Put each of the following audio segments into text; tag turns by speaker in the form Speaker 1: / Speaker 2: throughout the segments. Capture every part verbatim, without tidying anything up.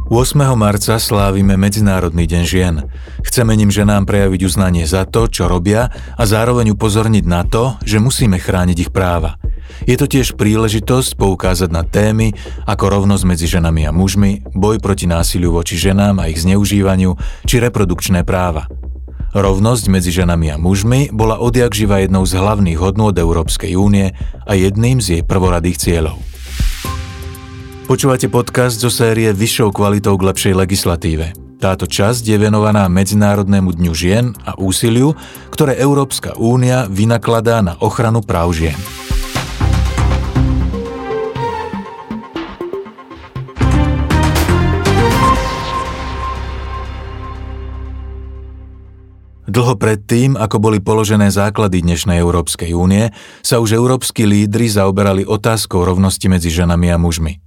Speaker 1: ôsmeho marca slávime Medzinárodný deň žien. Chceme ním ženám prejaviť uznanie za to, čo robia, a zároveň upozorniť na to, že musíme chrániť ich práva. Je to tiež príležitosť poukázať na témy ako rovnosť medzi ženami a mužmi, boj proti násiliu voči ženám a ich zneužívaniu či reprodukčné práva. Rovnosť medzi ženami a mužmi bola odjakživa jednou z hlavných hodnôt Európskej únie a jedným z jej prvoradých cieľov. Počúvate podcast zo série Vyššou kvalitou k lepšej legislatíve. Táto časť je venovaná Medzinárodnému dňu žien a úsiliu, ktoré Európska únia vynakladá na ochranu práv žien. Dlho predtým, ako boli položené základy dnešnej Európskej únie, sa už európski lídri zaoberali otázkou rovnosti medzi ženami a mužmi.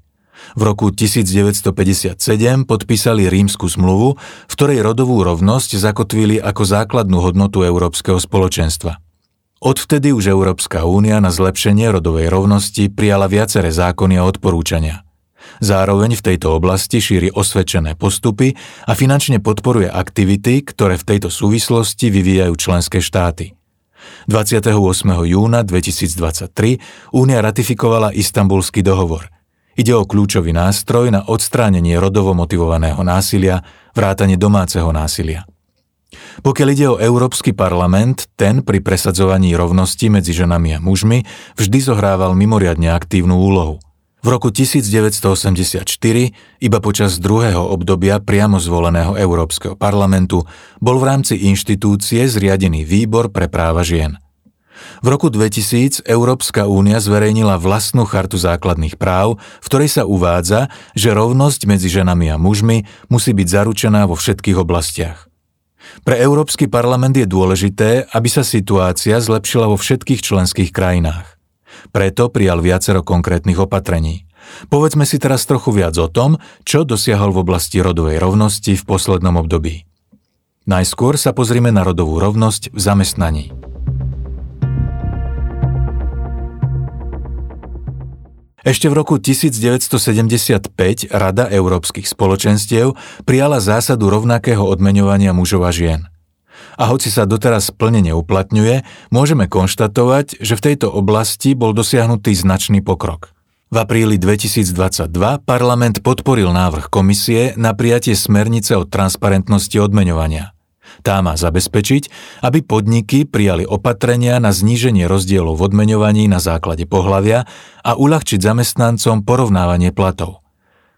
Speaker 1: V roku tisícdeväťstopäťdesiatsedem podpísali Rímsku zmluvu, v ktorej rodovú rovnosť zakotvili ako základnú hodnotu Európskeho spoločenstva. Odvtedy už Európska únia na zlepšenie rodovej rovnosti prijala viaceré zákony a odporúčania. Zároveň v tejto oblasti šíri osvedčené postupy a finančne podporuje aktivity, ktoré v tejto súvislosti vyvíjajú členské štáty. dvadsiateho ôsmeho júna dvetisícdvadsaťtri Únia ratifikovala Istanbulský dohovor. Ide o kľúčový nástroj na odstránenie rodovo motivovaného násilia, vrátane domáceho násilia. Pokiaľ ide o Európsky parlament, ten pri presadzovaní rovnosti medzi ženami a mužmi vždy zohrával mimoriadne aktívnu úlohu. V roku tisícdeväťstoosemdesiatštyri, iba počas druhého obdobia priamo zvoleného Európskeho parlamentu, bol v rámci inštitúcie zriadený výbor pre práva žien. V roku dvetisíc Európska únia zverejnila vlastnú chartu základných práv, v ktorej sa uvádza, že rovnosť medzi ženami a mužmi musí byť zaručená vo všetkých oblastiach. Pre Európsky parlament je dôležité, aby sa situácia zlepšila vo všetkých členských krajinách. Preto prijal viacero konkrétnych opatrení. Povedzme si teraz trochu viac o tom, čo dosiahol v oblasti rodovej rovnosti v poslednom období. Najskôr sa pozrime na rodovú rovnosť v zamestnaní. Ešte v roku tisícdeväťstosedemdesiatpäť Rada európskych spoločenstiev prijala zásadu rovnakého odmeňovania mužov a žien. A hoci sa doteraz plne neuplatňuje, môžeme konštatovať, že v tejto oblasti bol dosiahnutý značný pokrok. V apríli dvetisícdvadsaťdva parlament podporil návrh komisie na prijatie smernice o transparentnosti odmeňovania. Tá má zabezpečiť, aby podniky prijali opatrenia na zníženie rozdielov v odmeňovaní na základe pohlavia a uľahčiť zamestnancom porovnávanie platov.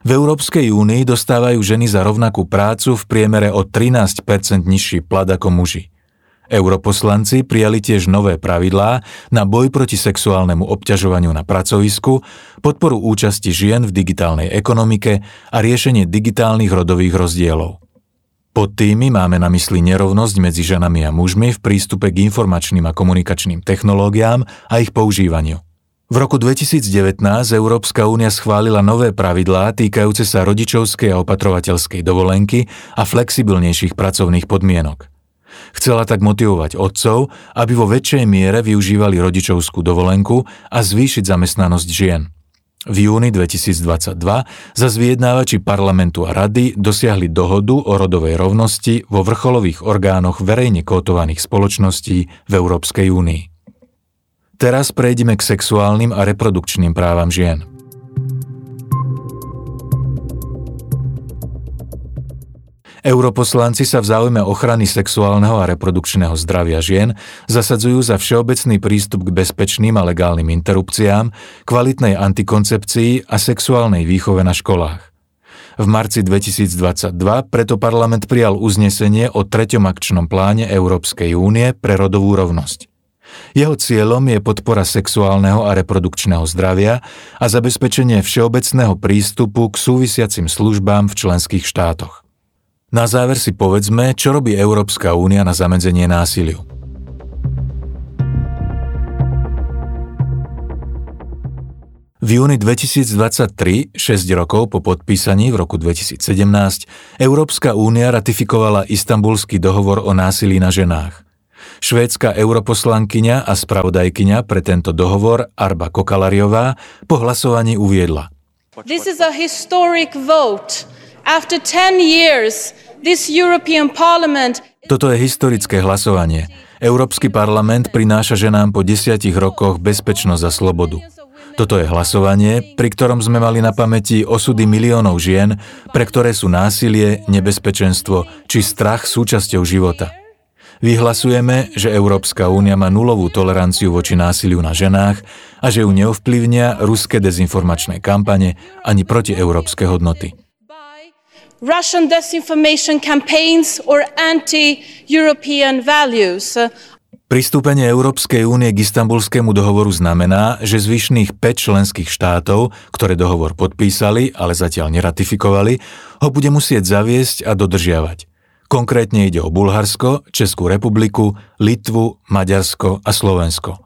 Speaker 1: V Európskej únii dostávajú ženy za rovnakú prácu v priemere o trinásť percent nižší plat ako muži. Europoslanci prijali tiež nové pravidlá na boj proti sexuálnemu obťažovaniu na pracovisku, podporu účasti žien v digitálnej ekonomike a riešenie digitálnych rodových rozdielov. Pod tými máme na mysli nerovnosť medzi ženami a mužmi v prístupe k informačným a komunikačným technológiám a ich používaniu. V roku dvetisícdevätnásť Európska únia schválila nové pravidlá týkajúce sa rodičovskej a opatrovateľskej dovolenky a flexibilnejších pracovných podmienok. Chcela tak motivovať otcov, aby vo väčšej miere využívali rodičovskú dovolenku a zvýšiť zamestnanosť žien. V júni dvetisícdvadsaťdva zas vyjednávači parlamentu a rady dosiahli dohodu o rodovej rovnosti vo vrcholových orgánoch verejne kotovaných spoločností v Európskej únii. Teraz prejdeme k sexuálnym a reprodukčným právam žien. Europoslanci sa v záujme ochrany sexuálneho a reprodukčného zdravia žien zasadzujú za všeobecný prístup k bezpečným a legálnym interrupciám, kvalitnej antikoncepcii a sexuálnej výchove na školách. V marci dvetisícdvadsaťdva preto parlament prijal uznesenie o treťom akčnom pláne Európskej únie pre rodovú rovnosť. Jeho cieľom je podpora sexuálneho a reprodukčného zdravia a zabezpečenie všeobecného prístupu k súvisiacim službám v členských štátoch. Na záver si povedzme, čo robí Európska únia na zamedzenie násiliu. V júni dvetisícdvadsaťtri, šesť rokov po podpísaní v roku dvetisícsedemnásť, Európska únia ratifikovala Istanbulský dohovor o násilí na ženách. Švédska europoslankyňa a spravodajkyňa pre tento dohovor Arba Kokalariová po hlasovaní uviedla:
Speaker 2: This is a historic vote After ten years, this European Parliament.
Speaker 1: Toto je historické hlasovanie. Európsky parlament prináša ženám po desiatich rokoch bezpečnosť a slobodu. Toto je hlasovanie, pri ktorom sme mali na pamäti osudy miliónov žien, pre ktoré sú násilie, nebezpečenstvo či strach súčasťou života. Vyhlasujeme, že Európska únia má nulovú toleranciu voči násiliu na ženách a že ju neovplyvnia ruské dezinformačné kampane ani protieurópske hodnoty.
Speaker 2: Russian disinformation campaigns or anti-European values.
Speaker 1: Pristúpenie Európskej únie k Istanbulskému dohovoru znamená, že zvyšných päť členských štátov, ktoré dohovor podpísali, ale zatiaľ neratifikovali, ho bude musieť zaviesť a dodržiavať. Konkrétne ide o Bulharsko, Českú republiku, Litvu, Maďarsko a Slovensko.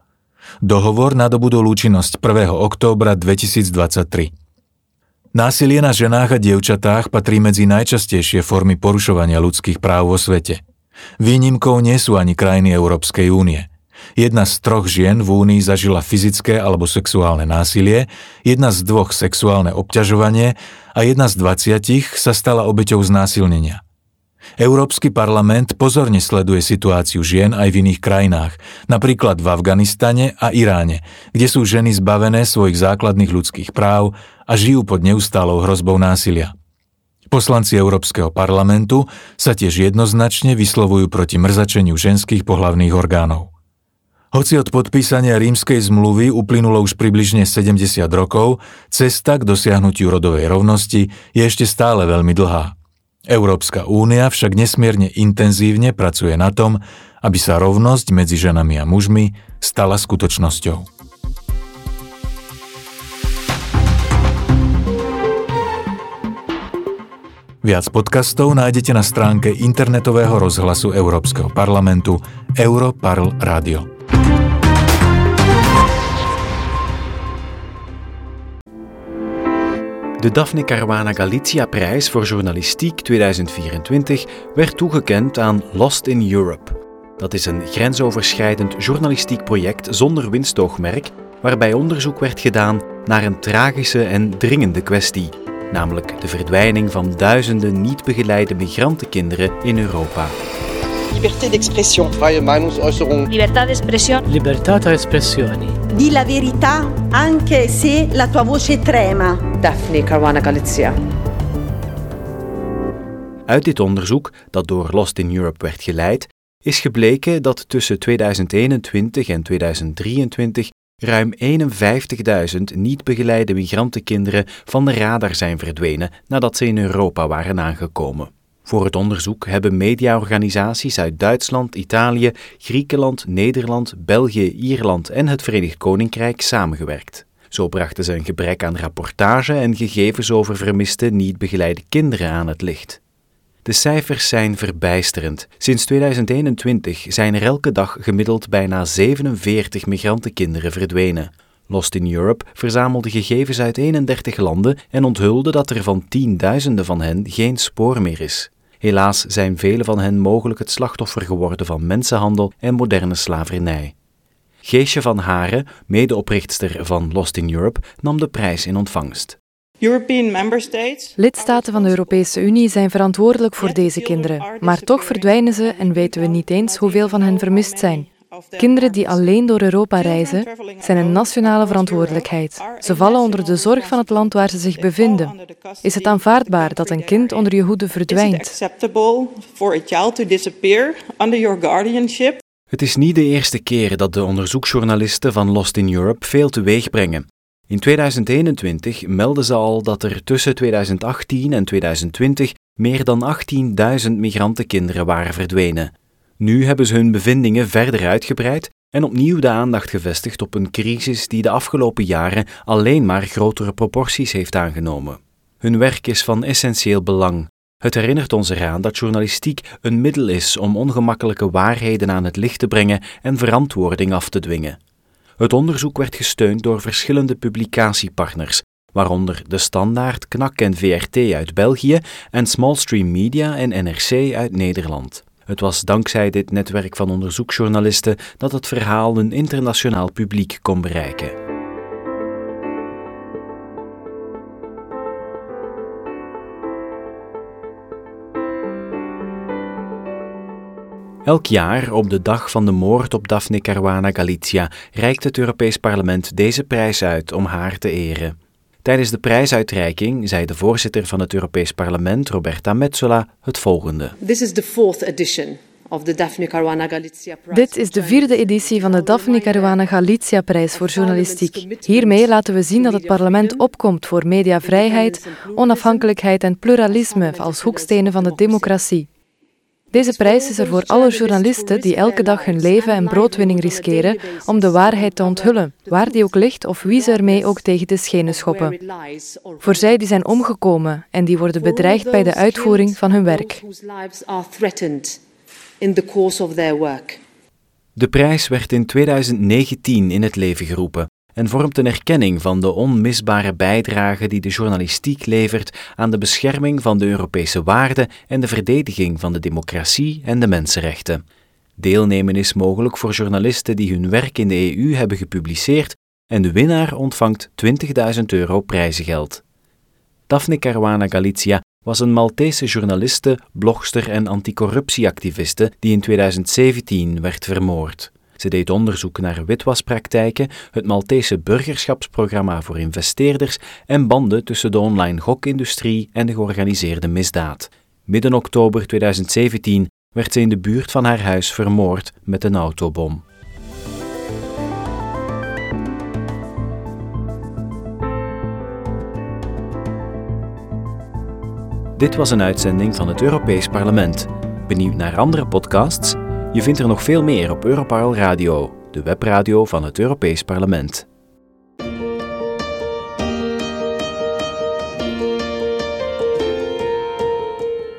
Speaker 1: Dohovor nadobudol účinnosť prvého októbra dvetisícdvadsaťtri. Násilie na ženách a dievčatách patrí medzi najčastejšie formy porušovania ľudských práv vo svete. Výnimkou nie sú ani krajiny Európskej únie. Jedna z troch žien v únii zažila fyzické alebo sexuálne násilie, jedna z dvoch sexuálne obťažovanie a jedna z dvaciatich sa stala obeťou znásilnenia. Európsky parlament pozorne sleduje situáciu žien aj v iných krajinách, napríklad v Afganistane a Iráne, kde sú ženy zbavené svojich základných ľudských práv a žijú pod neustálou hrozbou násilia. Poslanci Európskeho parlamentu sa tiež jednoznačne vyslovujú proti mrzačeniu ženských pohlavných orgánov. Hoci od podpísania Rímskej zmluvy uplynulo už približne sedemdesiat rokov, cesta k dosiahnutiu rodovej rovnosti je ešte stále veľmi dlhá. Európska únia však nesmierne intenzívne pracuje na tom, aby sa rovnosť medzi ženami a mužmi stala skutočnosťou. Viac podcastov nájdete na stránke internetového rozhlasu Európskeho parlamentu Europarl Radio.
Speaker 3: De Daphne Caruana Galizia Prijs voor Journalistiek tweeduizend vierentwintig werd toegekend aan Lost in Europe. Dat is een grensoverschrijdend journalistiek project zonder winstoogmerk, waarbij onderzoek werd gedaan naar een tragische en dringende kwestie, namelijk de verdwijning van duizenden niet begeleide migrantenkinderen in Europa.
Speaker 4: Liberté d'expression.
Speaker 5: Freie Meinungsäußerung.
Speaker 6: Libertà d'espressione.
Speaker 7: Libertà d'espressione.
Speaker 8: Di la verità anche se la tua voce trema.
Speaker 9: Daphne Caruana Galizia.
Speaker 3: Uit dit onderzoek, dat door Lost in Europe werd geleid, is gebleken dat tussen tweeduizend eenentwintig en tweeduizend drieëntwintig ruim eenenvijftigduizend niet begeleide migrantenkinderen van de radar zijn verdwenen nadat ze in Europa waren aangekomen. Voor het onderzoek hebben mediaorganisaties uit Duitsland, Italië, Griekenland, Nederland, België, Ierland en het Verenigd Koninkrijk samengewerkt. Zo brachten ze een gebrek aan rapportage en gegevens over vermiste niet begeleide kinderen aan het licht. De cijfers zijn verbijsterend. Sinds tweeduizend eenentwintig zijn er elke dag gemiddeld bijna zevenenveertig migrantenkinderen verdwenen. Lost in Europe verzamelde gegevens uit eenendertig landen en onthulde dat er van tienduizenden van hen geen spoor meer is. Helaas zijn vele van hen mogelijk het slachtoffer geworden van mensenhandel en moderne slavernij. Geesje van Haren, medeoprichtster van Lost in Europe, nam de prijs in ontvangst.
Speaker 4: European member states.
Speaker 10: Lidstaten van de Europese Unie zijn verantwoordelijk voor deze kinderen, maar toch verdwijnen ze en weten we niet eens hoeveel van hen vermist zijn. Kinderen die alleen door Europa reizen, zijn een nationale verantwoordelijkheid. Ze vallen onder de zorg van het land waar ze zich bevinden. Is het aanvaardbaar dat een kind onder je hoede verdwijnt?
Speaker 3: Het is niet de eerste keer dat de onderzoeksjournalisten van Lost in Europe veel teweeg brengen. In tweeduizend eenentwintig meldden ze al dat er tussen tweeduizend achttien en tweeduizend twintig meer dan achttienduizend migrantenkinderen waren verdwenen. Nu hebben ze hun bevindingen verder uitgebreid en opnieuw de aandacht gevestigd op een crisis die de afgelopen jaren alleen maar grotere proporties heeft aangenomen. Hun werk is van essentieel belang. Het herinnert ons eraan dat journalistiek een middel is om ongemakkelijke waarheden aan het licht te brengen en verantwoording af te dwingen. Het onderzoek werd gesteund door verschillende publicatiepartners, waaronder De Standaard, Knak en V R T uit België en Smallstream Media en N R C uit Nederland. Het was dankzij dit netwerk van onderzoeksjournalisten dat het verhaal een internationaal publiek kon bereiken. Elk jaar, op de dag van de moord op Daphne Caruana Galizia, reikt het Europees Parlement deze prijs uit om haar te eren. Tijdens de prijsuitreiking zei de voorzitter van het Europees Parlement, Roberta Metsola, het volgende.
Speaker 9: This is the fourth edition of the Daphne Caruana Galizia Prize.
Speaker 10: Dit is de vierde editie van de Daphne Caruana Galizia Prijs voor journalistiek. Hiermee laten we zien dat het parlement opkomt voor mediavrijheid, onafhankelijkheid en pluralisme als hoekstenen van de democratie. Deze prijs is er voor alle journalisten die elke dag hun leven en broodwinning riskeren om de waarheid te onthullen, waar die ook ligt of wie ze ermee ook tegen de schenen schoppen. Voor zij die zijn omgekomen en die worden bedreigd bij de uitvoering van hun werk.
Speaker 3: De prijs werd in tweeduizend negentien in het leven geroepen en vormt een erkenning van de onmisbare bijdrage die de journalistiek levert aan de bescherming van de Europese waarden en de verdediging van de democratie en de mensenrechten. Deelnemen is mogelijk voor journalisten die hun werk in de E U hebben gepubliceerd en de winnaar ontvangt twintigduizend euro prijzengeld. Daphne Caruana Galizia was een Maltese journaliste, blogster en anticorruptieactiviste die in tweeduizend zeventien werd vermoord. Ze deed onderzoek naar witwaspraktijken, het Maltese burgerschapsprogramma voor investeerders en banden tussen de online gokindustrie en de georganiseerde misdaad. Midden oktober tweeduizend zeventien werd ze in de buurt van haar huis vermoord met een autobom. Dit was een uitzending van het Europees Parlement. Benieuwd naar andere podcasts? Je vindt er nog veel meer op Europarl Radio, de webradio van het Europees Parlement.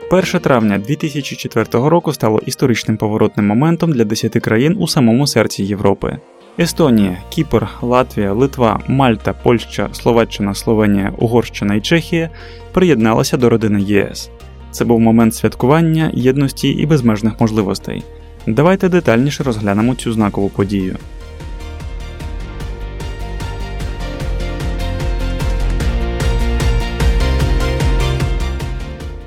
Speaker 5: перше травня дві тисячі четвертого року стало історичним поворотним моментом для десяти країн у самому серці Європи. Естонія, Кіпр, Латвія, Литва, Мальта, Польща, Словаччина, Словенія, Угорщина і Чехія приєдналися до родини Є С. Це був момент святкування, єдності і безмежних можливостей. Давайте детальніше розглянемо цю знакову подію.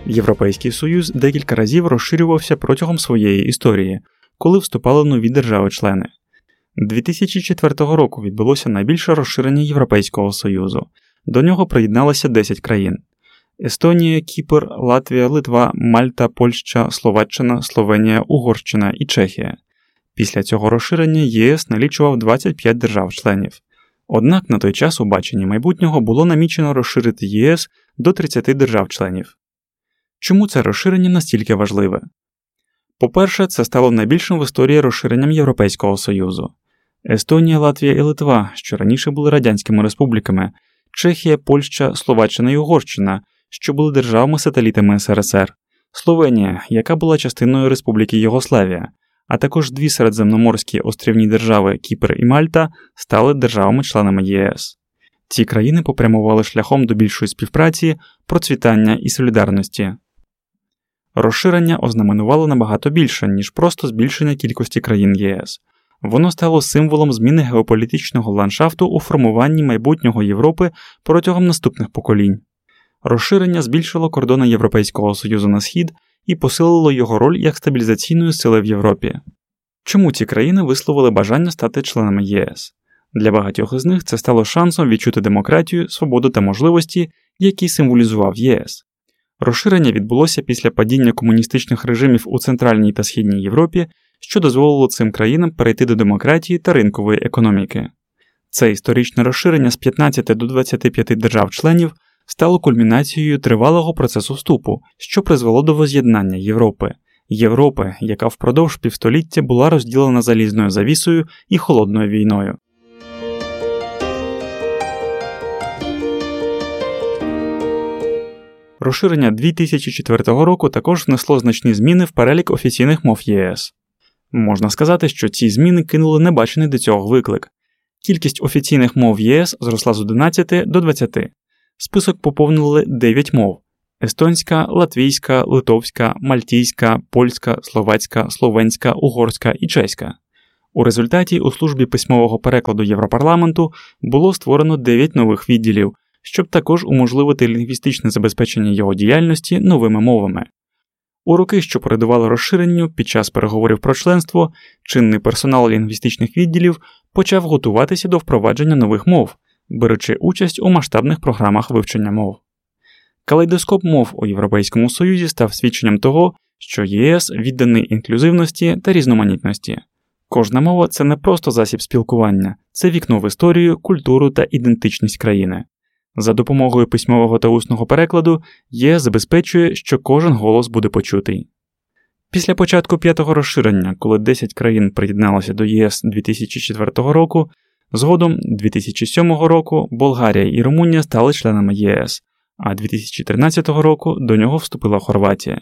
Speaker 5: Європейський Союз декілька разів розширювався протягом своєї історії, коли вступали нові держави-члени. дві тисячі четвертого року відбулося найбільше розширення Європейського Союзу. До нього приєдналося десять країн. Естонія, Кіпр, Латвія, Литва, Мальта, Польща, Словаччина, Словенія, Угорщина і Чехія. Після цього розширення Є С налічував двадцять п'ять держав-членів. Однак на той час у баченні майбутнього було намічено розширити Є С до тридцяти держав-членів. Чому це розширення настільки важливе? По-перше, це стало найбільшим в історії розширенням Європейського Союзу. Естонія, Латвія і Литва, що раніше були радянськими республіками, Чехія, Польща, Словаччина і Угорщина, що були державами-сателітами С Р С Р, Словенія, яка була частиною Республіки Югославія, а також дві середземноморські острівні держави Кіпр і Мальта стали державами-членами Є С. Ці країни попрямували шляхом до більшої співпраці, процвітання і солідарності. Розширення ознаменувало набагато більше, ніж просто збільшення кількості країн Є С. Воно стало символом зміни геополітичного ландшафту у формуванні майбутнього Європи протягом наступних поколінь. Розширення збільшило кордони Європейського Союзу на схід і посилило його роль як стабілізаційної сили в Європі. Чому ці країни висловили бажання стати членами Є С? Для багатьох із них це стало шансом відчути демократію, свободу та можливості, які символізував Є С. Розширення відбулося після падіння комуністичних режимів у Центральній та Східній Європі, що дозволило цим країнам перейти до демократії та ринкової економіки. Це історичне розширення з п'ятнадцяти до двадцяти п'яти держав-членів стало кульмінацією тривалого процесу вступу, що призвело до воз'єднання Європи. Європи, яка впродовж півстоліття була розділена залізною завісою і холодною війною. Розширення дві тисячі четвертого року також внесло значні зміни в перелік офіційних мов Є С. Можна сказати, що ці зміни кинули небачений до цього виклик. Кількість офіційних мов Є С зросла з одинадцяти до двадцяти. Список поповнили дев'ять мов: естонська, латвійська, литовська, мальтійська, польська, словацька, словенська, угорська і чеська. У результаті у службі письмового перекладу Європарламенту було створено дев'ять нових відділів, щоб також уможливити лінгвістичне забезпечення його діяльності новими мовами. У роки, що передували розширенню, під час переговорів про членство, чинний персонал лінгвістичних відділів почав готуватися до впровадження нових мов, беручи участь у масштабних програмах вивчення мов. Калейдоскоп мов у Європейському Союзі став свідченням того, що Є С відданий інклюзивності та різноманітності. Кожна мова – це не просто засіб спілкування, це вікно в історію, культуру та ідентичність країни. За допомогою письмового та усного перекладу Є С забезпечує, що кожен голос буде почутий. Після початку п'ятого розширення, коли десять країн приєдналося до Є С дві тисячі четвертого року, згодом дві тисячі сьомого року Болгарія і Румунія стали членами Є С, а дві тисячі тринадцятого року до нього вступила Хорватія.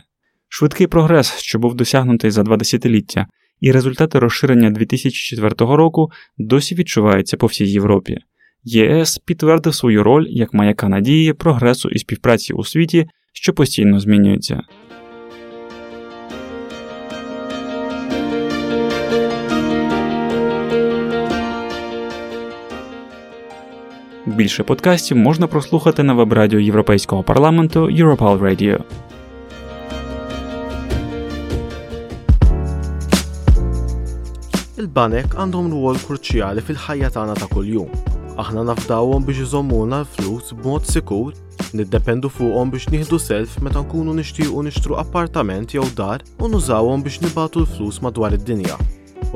Speaker 5: Швидкий прогрес, що був досягнутий за два десятиліття, і результати розширення дві тисячі четвертого року досі відчуваються по всій Європі. Є С підтвердив свою роль як маяка надії, прогресу і співпраці у світі, що постійно змінюється. Більше подкастів можна прослухати на веб-радіо Європейського парламенту Europal Radio.
Speaker 6: Il-banek għandhom rwol kruċjali fil-ħajja tagħna ta' kuljum. Aħna nafdawhom biex iżommuna l-flus b'mod sikur, niddependu fuqhom biex nieħdu self meta nkunu nixtiequ nixtru appartament jew dar u nużawhom biex nibagħtu l-flus madwar id-dinja.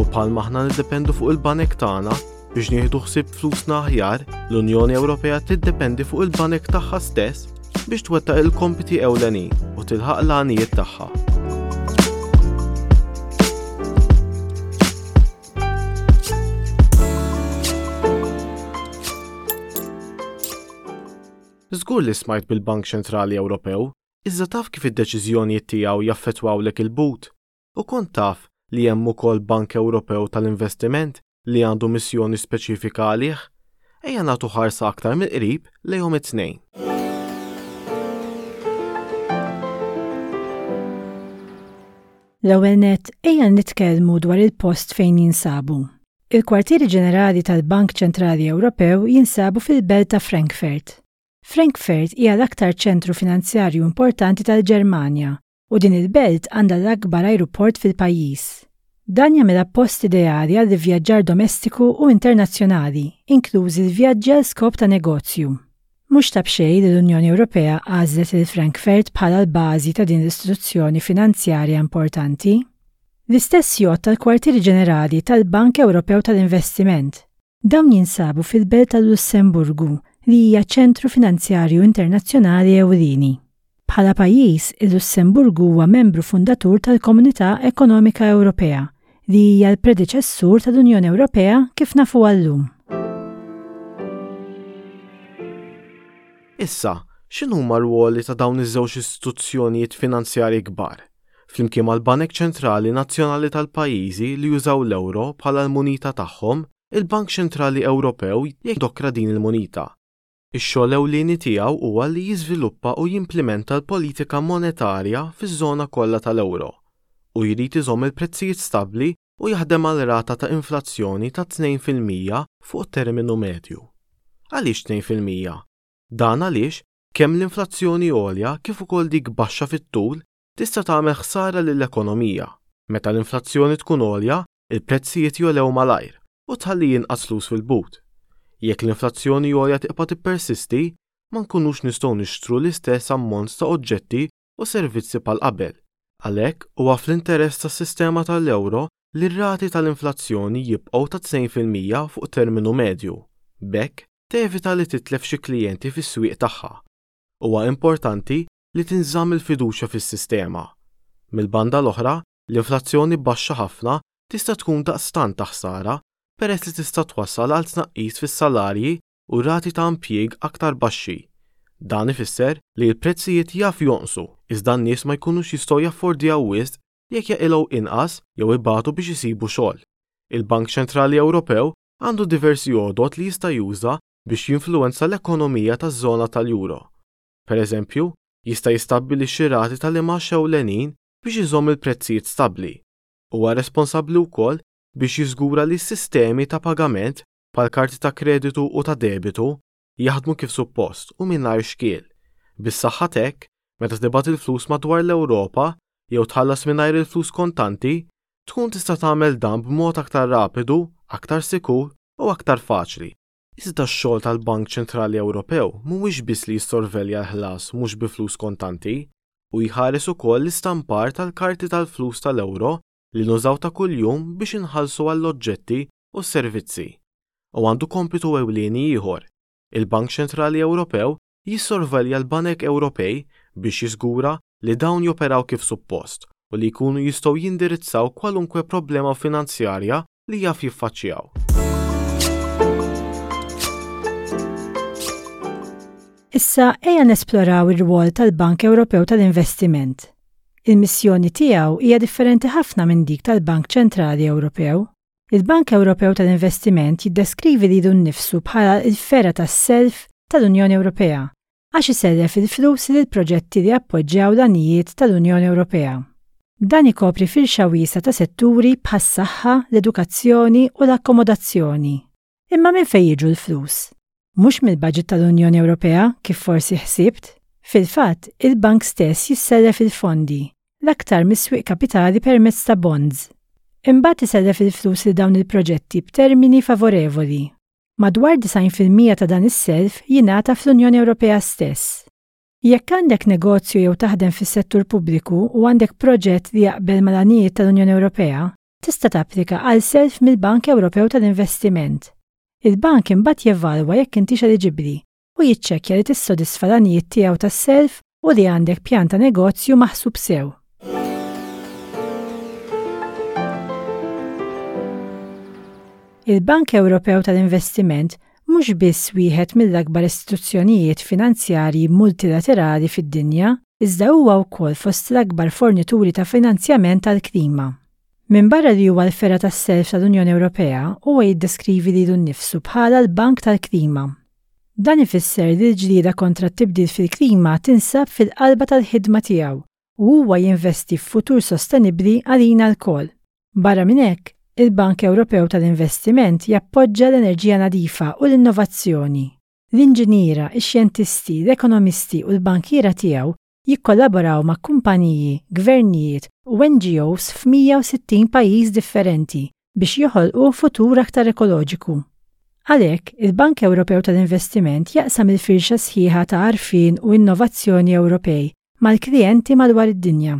Speaker 6: U bħalma aħna niddependu fuq il-banek tagħna biex nieħdu ħsieb flusna aħjar, l-Unjoni Ewropea tiddependi fuq il-banek tagħha stess biex twettaq il-kompiti ewlenin u tilħaq l-għanijiet tagħha. Żgur li smajt bil-Bank Ċentrali Ewropew, iżda taf kif id-deċiżjonijiet tiegħu jaffettwawlek il-but? U kont taf li hemm ukoll Bank Ewropew tal-Investiment li għandu missjoni speċifika għalih? Ejja nagħtu ħarsa aktar mill-qrib lejhom it-tnejn.
Speaker 7: L-ewwel nett, ejja nitkellmu dwar il-post fejn jinsabu. Il-kwartieri ġenerali tal-Bank Ċentrali Ewropew jinsabu fil-belt ta' Frankfurt. Frankfurt hija l-aktar ċentru finanzjarju importanti tal-Ġermanja u din il-belt għandha l-akbar ajruport fil-pajjiż. Dan jagħmilha post ideali għal vjaġġar domestiku u internazzjonali, inklużi l-vjaġġi għal skop ta' negozju. Mhux ta' b'xejn li l-Unjoni Ewropea għażlet il Frankfurt bħala l-bażi ta' din l-istituzzjoni finanzjarja importanti. L-istess jgħodd tal-kwartieri ġenerali tal-Bank Ewropew tal-Investiment. Dawn jinsabu fil-belt tal-Lussemburgu, li hija ċentru finanzjarju internazzjonali ewlieni. Bħala pajjiż, il-Lussemburgu huwa membru fundatur tal-Komunità Ekonomika Ewropea, li hija l-predeċessur tal-Unjoni Ewropea kif nafu llum.
Speaker 6: Issa, x'inhuma r-rwoli ta' dawn iż-żewġ istituzzjonijiet finanzjarji kbar? Flimkien mal-Banek Ċentrali Nazzjonali tal-pajjiżi li jużaw l-euro bħala l-munita tagħhom, il-Bank Ċentrali Ewropew jindokra din il-munita. Ix-xogħol ewlieni tiegħu huwa li jiżviluppa u jimplementa l-politika monetarja fiż-żona kollha tal-euro u jrid iżomm il-prezzijiet stabbli u jaħdem għal rata ta' inflazzjoni ta' tnejn fil-mija fuq terminu medju. Għaliex tnejn fil-mija? Dan għaliex kemm l-inflazzjoni għolja kif ukoll dik baxxa fit-tul tista' tagħmel ħsara lill-ekonomija. Meta l-inflazzjoni tkun għolja, il-prezzijiet jogħlew malajr u tħalli inqas flus fil-but. Jekk l-inflazzjoni għolja tibqa' tippersisti, ma nkunux nistgħu nixtru l-istess ammont ta' oġġetti u servizzi bħal qabel. Għalhekk huwa fl-interess tas-sistema tal-euro li r-rati tal-inflazzjoni jibqgħu ta' tnejn fil-mija fuq terminu medju. B'hekk tevita li titlef xi klijenti fis-swieq tagħha. Huwa importanti li tinżamm il-fiduċja fis-sistema. Mill-banda l-oħra, l-inflazzjoni baxxa ħafna tista' tkun daqstant ta' ħsara peress li tista' twassal għal tnaqqis fis-salarji u rati ta' impjieg aktar baxxi. Dan ifisser li l-prezzijiet jaf jonqsu, iżda n-nies ma jkunux jistgħu jaffordjaw wisq jekk jaqilgħu inqas jew ibatu biex isibu xogħol. Il-Bank Ċentrali Ewropew għandu diversi għodot li jista' juża biex jinfluwenza l-ekonomija taż-żona tal-euro. Per eżempju, jista' jistabbilixxi rati tal-imgħax ewlenin biex iżomm il-prezzijiet stabbli. Huwa responsabbli wkoll biex jiżgura li s-sistemi ta' pagament bħal karti ta' kreditu u ta' debitu jaħdmu kif suppost u mingħajr xkiel. Bis-saħħa t'hekk, meta tibgħat il-flus madwar l-Ewropa, jew tħallas mingħajr il-flus kontanti, tkun tista' tagħmel dan b'mod aktar rapidu, aktar sikur u aktar faċli. Iżda x-xogħol tal-Bank Ċentrali Ewropew mhuwiex biss li jissorvelja l-ħlas mhux bi flus kontanti, u jħares ukoll l-istampar tal-karti tal-flus tal-euro li nużaw ta' kuljum biex inħallsu għall-oġġetti u s-servizzi. U għandu kompitu ewlieni ieħor. Il-Bank Ċentrali Ewropew jissorvelja l-Banek Ewropej biex jiżgura li dawn joperaw kif suppost u li jkunu jistgħu jindirizzaw kwalunkwe problema finanzjarja li jaf jiffaċċjaw.
Speaker 7: Issa ejja nesploraw ir-rwol tal-Bank Ewropew tal-Investiment. Il-missjoni tiegħu hija differenti ħafna minn dik tal-Bank Ċentrali Ewropew. Il-Bank Ewropew tal-Investiment jiddeskrivi lilu nnifsu bħala l-fergħa tas-self tal-Unjoni Ewropea għax isellef il-flus lil proġetti li appoġġjaw l-għanijiet tal-Unjoni Ewropea. Dan ikopri firxa wiesgħa ta' setturi bħas-saħħa, l-edukazzjoni u l-akkomodazzjoni. Imma minn fejn jiġu l-flus? Mhux mill-baġit tal-Unjoni Ewropea kif forsi ħsibt. Fil-fatt, il-bank stess jissellef il-fondi, l-aktar mis-swieq kapitali permezz ta' bonds. Imbagħad isellef il-flus lil dawn il-proġetti b'termini favorevoli. Madwar disgħin fil-mija ta' dan is-self jingħata fl-Unjoni Ewropea stess. Jekk għandek negozju jew taħdem fis-settur pubbliku u għandek proġett li jaqbel mal-għanijiet tal-Unjoni Ewropea, tista' tapplika għal self mill-Bank Ewropew tal-Investiment. Il-bank imbagħad jevalwa jekk intix eliġibbli u jiċċekkja li tissodisfa l-għanijiet tiegħu tas-self u li għandek pjan ta' negozju maħsub sew. Il-Bank Ewropew tal-Investiment mhux biss wieħed mill-akbar istituzzjonijiet finanzjarji multilaterali fid-dinja, iżda huwa wkoll fost l-akbar fornituri ta' finanzjament tal-klima. Minbarra li huwa l-fergħa tas-self tal-Unjoni Ewropea, huwa jiddeskrivi lilu nnifsu bħala l-Bank tal-Klima. Dan ifisser li l-ġlieda kontra t-tibdil fil-klima tinsab fil-qalba tal-ħidma tiegħu u huwa jinvesti f'futur sostenibbli għalina lkoll. Barra minn hekk, il-Bank Ewropew tal-Investiment jappoġġa l-enerġija nadifa u l-innovazzjoni. L-inġiniera, ix-xjentisti, l-ekonomisti u l-bankiera tiegħu jikkollaboraw ma' kumpaniji, gvernijiet u N G Os f'mija u sittin pajjiż differenti biex joħolqu futur aktar ekoloġiku. Għalhekk, il-Bank Ewropew tal-Investiment jaqsam il-firxa sħiħa ta' għarfien u innovazzjoni Ewropej mal-klijenti madwar id-dinja.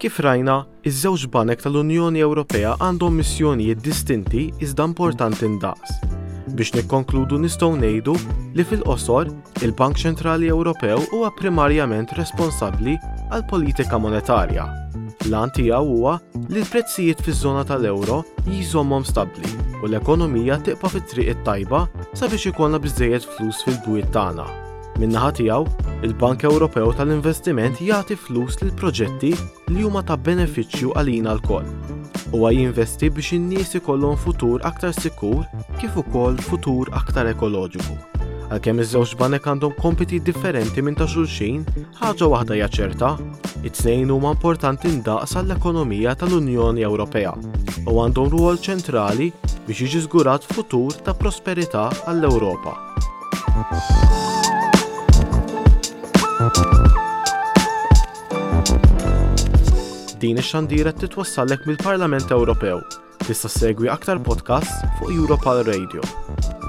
Speaker 6: Kif rajna, iż-żewġ banek tal-Unjoni Ewropea għandhom missjonijiet distinti iżda importanti ndaqs. Biex nikkonkludu nistgħu ngħidu li fil-qosor, il-Bank Ċentrali Ewropew huwa primarjament responsabbli għal politika monetarja. L-għan tiegħu huwa li l-prezzijiet fiż-żona tal-euro jżommhom stabbli u l-ekonomija tibqa' fit-triq it-tajba sabiex ikollna biżżejjed flus fil-bwiet tagħna. Min-naħa tiegħu, il-Bank Ewropew tal-Investiment jagħti flus lil proġetti li huma ta' benefiċċju għalina lkoll. Huwa jinvesti biex in-nies ikollhom futur aktar sikur kif ukoll futur aktar ekoloġiku. Għalkemm iż-żewġ banek għandhom kompiti differenti minn ta' xulxin, ħaġa waħda hija ċerta, it-tnejn huma importanti ndaqs għall-ekonomija tal-Unjoni Ewropea u għandhom rwol ċentrali biex jiġi żgurat futur ta' prosperità għall-Ewropa. Din ix-xandira titwassallek mill-Parlament Ewropew. Tista' ssegwi aktar podcasts fuq Europal Radio.